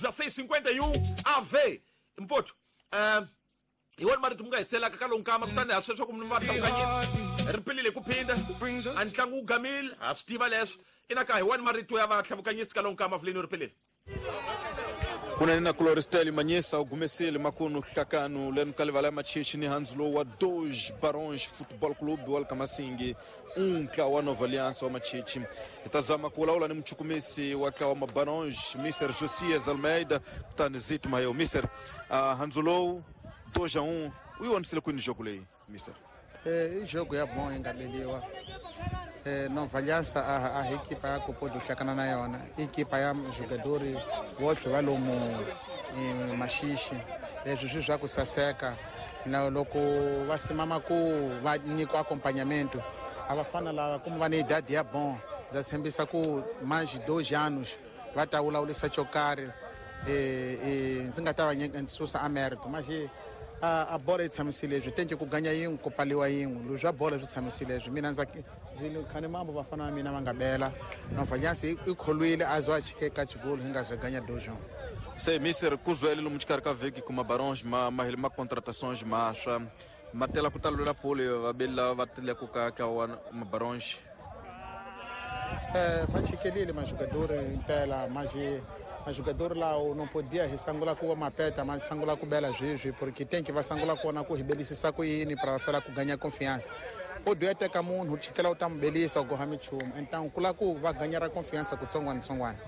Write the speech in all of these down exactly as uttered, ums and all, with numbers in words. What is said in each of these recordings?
dezesseis cinquenta e um A V mpoto uh, hi wona marito mi nga hiselaka ka lowu nkama kutani ha sweswo ku mi va hlawukanyisa ri pilile ku phinda a ntlangu wu gamile ha swi tiva leswo ina ka hi wona marito ya vahlawukanyisi ka lowu nkama vuleni ri pilile. Kunene na Cloristel Manyisa u gumesile makunu hlakanu leno ka livala ya machichi ni handzu lowu wa Dois Barões Futebol Clube wa Kamasingi um ntlawa wa Nova Aliança wa Machichi. Hi ta zama ku vulavula ni muchukumisi wa ntlawa wa Barões Mister Josias Almeida kutani Zito Mayo. Mister, uh, handzu lowu dois a um u yi vonisile kwini jogo leyi Mister? Eh, i jogo ya bom yi nga beliwa. Eh, Nova Aliança a, a equipa ya ku pode hlakana na yona i equipa ya jogadori votlhe va lomu eh, Maxixi leswi swi swa ku saseka na loko va simama ku va nyikiwa acompanhamento a va fana lava kumbe va ni idade ya bom ndza tshembisa ku mais dois anos va ta vulavulisa xo karhi eh, eh, ndzi nga ta va nyika ndzi susa a mérito mas a, a bola yi tshamisile leswi tenke ku ganya yin'we ku paliwa yin'we leswi swa bola swi tshamisile leswi mina ndza khani mambo vafana va mina va nga bela Nova Aliança i kholwile a zo a chike ka xigolo hi nga ze ganya dois um. Se mister kuzwele lomu xikarhi ka vhiki kuma Barões ma ma ma contratações maswa ma tela ku talula pole va beli lava va teleke ka ka wa ma Barões. Eh, ma chikelile majogador impela mas majogador lawo não podia risangula ku mapeta mas sangula ku bela zwizwi porque tem que va sangula kona ku ribelisisa ku yini para fela ku ganhar confiança. Pode até ka munhu chikela u ta mubelisa ku goha michumu então kula ku va ganhar a confiança ku tsongwana tsongwana.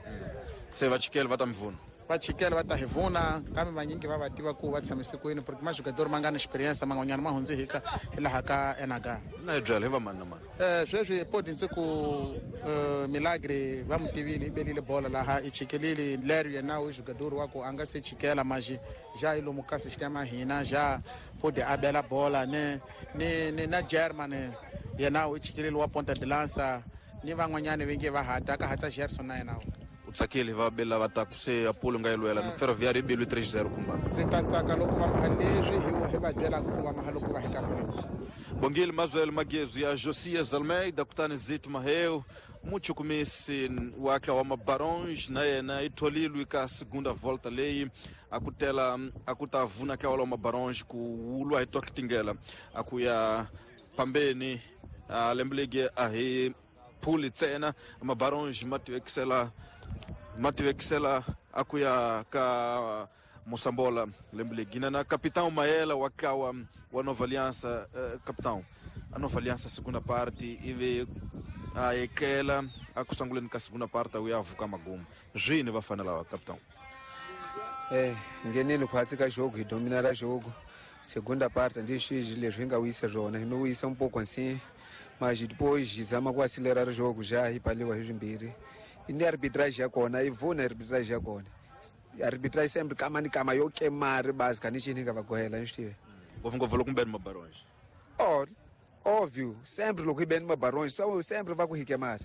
Se va chikela va ta mvuna. Va chikela va ta hi vuna kambe vanyingi va va tiva ku va tshamise kwini porque majogador ma nga na experience man'wanyana ma hundze hi ka hi laha ka N H. Na hi byela hi va mani na mani. Eh, sweswi podi ndzi ku uh, Milagre va mu tivile i belile bola laha i chikelile leri yena u jogador wa ku a nga se chikela mas já i lomu ka sistema hina já podi a bela bola ne ni ni na German yena u chikelile wa ponta de lança ni van'wanyana va nge va hata ka hata Gerson na yena. U tsakile va bela va ta ku se Apollo nga yi lwela ni Ferroviário i belwe três zero kumba. Ndzi ta tsaka loko va maha leswi hi hi va byelaka ku va maha loko va hika kona. Bongile Mazuel Magezo ya Josias Almeida kutani Zito Maheu muchukumisi wa ntlawa wa Barões na yena i tholilwe ka segunda volta leyi a ku tela a ku ta vuna ntlawa wa Barões ku wulwa hi tokitingela a ku ya pambeni a lembe legi a hi phuli ntsena ma Barões ma tivekisela ma tivekisela a ku ya ka Moçambola lembe legi na na capitão Maela wa ntlawa wa Nova Aliança. uh, capitão a Nova Aliança segunda parte ivi a etlela a ku sunguleni ka segunda parte u ya vuka magumu swini va fanela wa capitão. Eh, nghenile khwatsi ka jogo hi dominara jogo segunda parte ndi swizwi leswi hi nga wisa swona hi no wisa um pouco assim mas depois hi zama ku acelerar o jogo já hi paliwa hi swimbirhi ni arbitrage ya kona yi vuna arbitrage ya kona arbitrage sempre kama ni kama yo kemari basi ka ni xini hi nga va gohela ni swi tive ngopfungopfu loko mi beni ma Barões. Oh, óbvio, sempre loko hi beni ma Barões só sempre va ku hi kemari.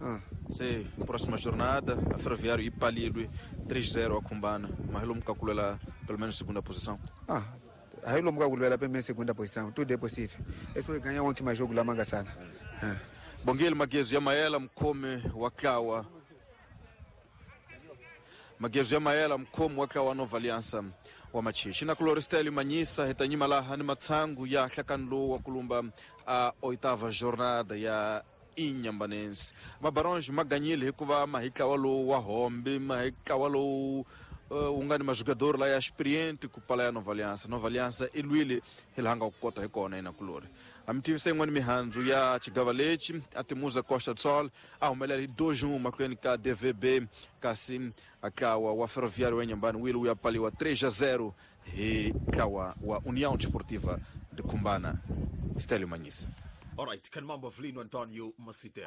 Ah. Se próxima jornada a Ferroviário i palilwe três zero a Khumbana mas lomu ka ku lwela pelo menos segunda posição. Ah, aí lomu ka ku lwela pelo menos segunda posição, tudo é possível. É só ganhar ontem mais jogo lá Mangassana. Ah. Bongile Magezo ya Maela mkhome wa ntlawa Magezo ya Maela mkhomi wa ntlawa wa Nova Aliança wa Machichi na Cloristel Manyisa hi ta nyima laha ni matshangu ya hlakani lowu wa kulumba a oitava jornada ya Inhambane. Ma Barões ma ganyile hikuva ma hi ntlawa lowu wa hombe ma hi ntlawa lowu uh, wu nga ni majogador la ya experiente ku pala ya Nova Aliança. Nova Aliança i lwile hi laha nga ku kota hi kona ina kulori. A mi tivisa yin'wana mihandzu ya xigava lexi a Timuza Costa do Sol a humelela hi dois um mahlweni ka D V B kasi a ntlawa wa Ferroviário wa Inhambane wile wu ya paliwa três a zero hi ntlawa wa União Desportiva de Khumbana. Stélio Manyisa. Alright, kan mambo Avelino Antonio Masite.